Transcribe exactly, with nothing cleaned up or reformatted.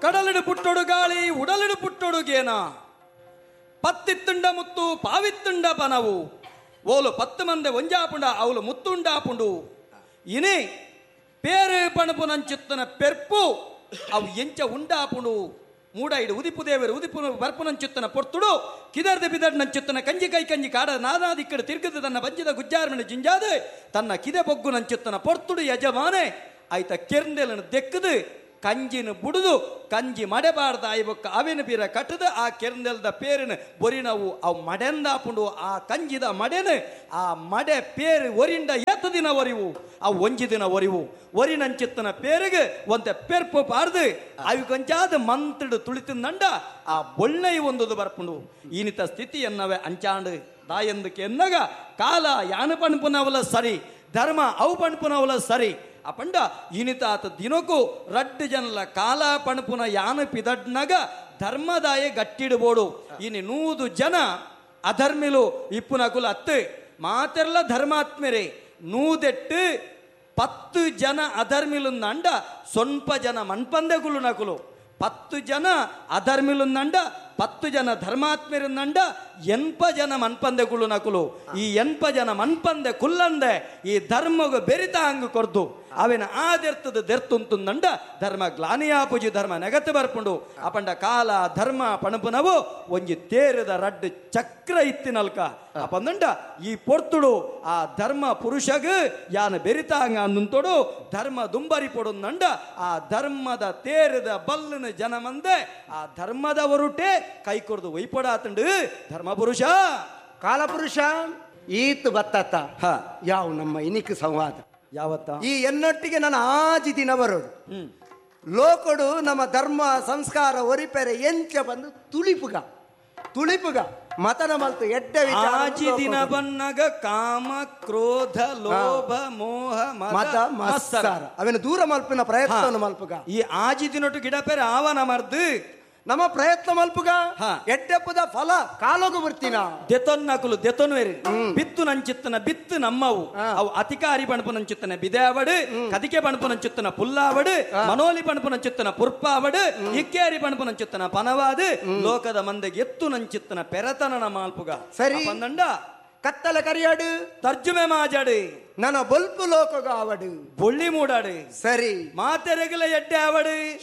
ಕಡಲಿಡು ಪುಟ್ಟೊಡು ಗಾಳಿ ಉಡಲಿಡು ಪುಟ್ಟೊಡು ಗೇನ ಪತ್ತಿತ್ತುಂಡ ಮುತ್ತು ಪಾವಿತ್ತುಂಡ ಪನವು ಓಲು ಪತ್ತು ಮಂದೆ ಒಂಜಾಪುಂಡ ಅವಳು ಮುತ್ತುಂಡಾಪುಂಡು ಇನಿ ಪೇರು ಪಣಪು ನಂಚಿತ್ತನ ಪೆರ್ಪು ಅವು ಎಂಚ ಉಂಡಾಪುಂಡು ಮೂಡೈಡು ಉದಿಪು ದೇವರು ಉದಿಪು ಬರ್ಪುನಂಚಿತ್ತನ ಪೊರ್ತುಡು ಕಿದರ್ದ ಬಿದರ್ ನಂಚಿತ್ತನ ಕಂಜಿ ಕೈ ಕಂಜಿ ಕಾಡ ನಾನಾದಿಕ್ಕಡು ತಿರುಗದು ತನ್ನ ಬಂಜಿದ ಗುಜ್ಜಾರ್ಮಣ ಜಿಂಜಾದ ತನ್ನ ಕಿದೆ ಬೊಗ್ಗು ನಂಚಿತ್ತನ ಪೊರ್ತುಡು ಯಜಮಾನೆ ಆಯ್ತ ಕೆರ್ಂದೆಲನ್ನು ದೆಕ್ಕದು ಕಂಜಿನ ಬುಡುದು ಕಂಜಿ ಮಡೆಬಾರ್ದ ಆಯ್ಬೊಕ್ಕ ಅವಿನ ಬೀರ ಕಟ್ಟದ ಆ ಕೆರ್ಂದೆಲ್ದ ಪೇರಿನ ಬೊರಿನವು ಅವು ಮಡೆಂದಾಪುಂಡು ಆ ಕಂಜಿದ ಮಡೆನು ಆ ಮಡೆ ಪೇರು ಒರಿಂಡ ಏತ ದಿನ ಒರಿವು ಅವು ಒಂಜಿ ದಿನ ಒರಿವು ಒರಿನಂಚಿತ್ತನ ಪೇರಿಗೆ ಒಂತೆ ಪೆರ್ಪು ಪಾರ್ದು ಅವಿ ಕೊಂಚಾದ ಮಂತ್ರಿಡು ತುಳಿತಿಂದಂಡ ಆ ಬೊಳ್ಳೆಯ ಒಂದುದು ಬರ್ಪುಂಡು ಈನಿತ ಸ್ಥಿತಿಯನ್ನವೇ ಅಂಚಾಂಡು ದಾಯಂದಕ್ಕೆ ಎನ್ನಗ ಕಾಲ ಯಾನು ಪಣಪುನವಲ ಸರಿ ಧರ್ಮ ಅವು ಪಣಪುನವಲ ಸರಿ ಅಪಂಡ ಇನಿತಾತ ದಿನಕ್ಕೂ ರಡ್ಡು ಜನಲ ಕಾಲ ಪಣಪುನ ಯಾನು ಪಿದಡ್ನಗ ಧರ್ಮದಾಯ ಗಟ್ಟಿಡ್ಬೋಡು ಇನಿ ನೂದು ಜನ ಅಧರ್ಮಿಲು ಇಪ್ಪುನಕುಲು ಅತ್ತು ಮಾತೆರ್ಲ ಧರ್ಮಾತ್ಮರೇ ನೂದೆಟ್ಟು ಪತ್ತು ಜನ ಅಧರ್ಮಿಲುಂದಂಡ ಸೊನ್ಪ ಜನ ಮನ್ಪಂದೆಗುಲು ನಕುಲು ಪತ್ತು ಜನ ಅಧರ್ಮಿಲುಂದಂಡ ಪತ್ತು ಜನ ಧರ್ಮಾತ್ಮರುಂದಂಡ ಎನ್ಪ ಜನ ಮನ್ಪಂದೆ ಕುಳ್ಳು ನಕುಲು ಈ ಎನ್ಪ ಜನ ಮನ್ಪಂದೆ ಕುಲ್ಲಂದೆ ಈ ಧರ್ಮಗು ಬೆರಿತ ಹಂಗು ಕೊರ್ದು ಅವಿನ ಆದೆರ್ತದ ದೆರ್ತುಂತುಂದಂಡ ಧರ್ಮ ಗ್ಲಾನಿಯಾಪುಜಿ ಧರ್ಮ ನೆಗತ್ತು ಬರ್ಪುಂಡು ಅಪಂಡ ಕಾಲ ಧರ್ಮ ಪಣಪುನವು ಒಂಜಿ ತೇರದ ರಡ್ಡು ಚಕ್ರ ಇತ್ತಿನಲ್ಕ ಅಪಂದಂಡ ಈ ಪೊರ್ತುಡು ಆ ಧರ್ಮ ಪುರುಷಗ್ ಯಾನ ಬೆರಿತ ಹಂಗ ಅಂದುಂತೊಡು ಧರ್ಮ ದುಂಬರಿ ಪೊಡುಂದಂಡ ಆ ಧರ್ಮದ ತೇರದ ಬಲ್ಲಿನ ಜನ ಮಂದೆ ಆ ಧರ್ಮದವರುಟೆ ಕೈ ಕೊಡ್ದು ಒಯ್ಪಡಾತಂಡು ಧರ್ಮ ಪುರುಷ ಕಾಲಪುರುಷ ಈತ್ ಬತ್ತತ್ತ ಯಾವ ನಮ್ಮ ಇನಿಕ್ ಸಂವಾದ ಯಾವತ್ತ ಈ ಎನ್ನೊಟ್ಟಿಗೆ ನನ್ನ ಆಜಿ ದಿನ ಬರೋಡು ಲೋಕಡು ನಮ್ಮ ಧರ್ಮ ಸಂಸ್ಕಾರ ಒರಿಪೆರೆ ಎಂಚ ಬಂದು ತುಳಿಪುಗ ತುಳಿಪುಗ ಮತನ ಮಲ್ತು ಎಡ್ಡೆ ವಿಚಾರ ಆಜಿ ದಿನ ಬನ್ನಗ ಕಾಮ ಕ್ರೋಧ ಲೋಭ ಮೋಹ ಮತ ಮತ್ಸರ ಅವನ ದೂರ ಮಲ್ಪಿನ ಪ್ರಯತ್ನ ಮಲ್ಪುಗ ಈ ಆಜಿ ದಿನೊಟ್ಟು ಗಿಡ ಪೇರೆ ಆವನ ಮರ್ದು ನಮ್ಮ ಪ್ರಯತ್ನ ಮಲ್ಪುಗ ಎಡ್ಡೆಪ್ಪದ ಫಲ ಕಾಲೋಗು ಬರ್ತೀನ ದೆತೊನ್ನಕುಲು ದೆತೊನ್ವೇರಿ ಬಿತ್ತು ನಂಚಿತ್ತನ ಬಿತ್ತು ನಮ್ಮವು ಅವು ಅತಿಕಾರಿ ಪಣಪು ನಂಚಿತ್ತನ ಬಿದೇವಡು ಕದಿಕೆ ಪಣಪು ನಂಚಿತ್ತನ ಪುಲ್ಲಾವಡು ಮನೋಲಿ ಪಣಪು ನಂಚಿತ್ತನ ಪುರ್ಪಾವಡು ಇಕ್ಕೇರಿ ಪಣಪು ನಂಚಿತ್ತನ ಪನವಾದು ಲೋಕದ ಮಂದೆಗೆ ಎತ್ತು ನಂಚಿತ್ತನ ಪೆರತನ ಮಾಲ್ಪುಗ ಸರಿ ಬಂದಂಡ ಕತ್ತಲ ಕರಿಯಾಡು ತರ್ಜುಮೆ ಮಾಜಾಡು ನನ್ನ ಬೊಲ್ಪು ಲೋಕಗ ಆವಡು ಬೊಳ್ಳಿ ಮೂಡಾಡು ಸರಿ ಮಾತೆರೆಗಲ ಎಡ್ಡೆ ಆವಡು.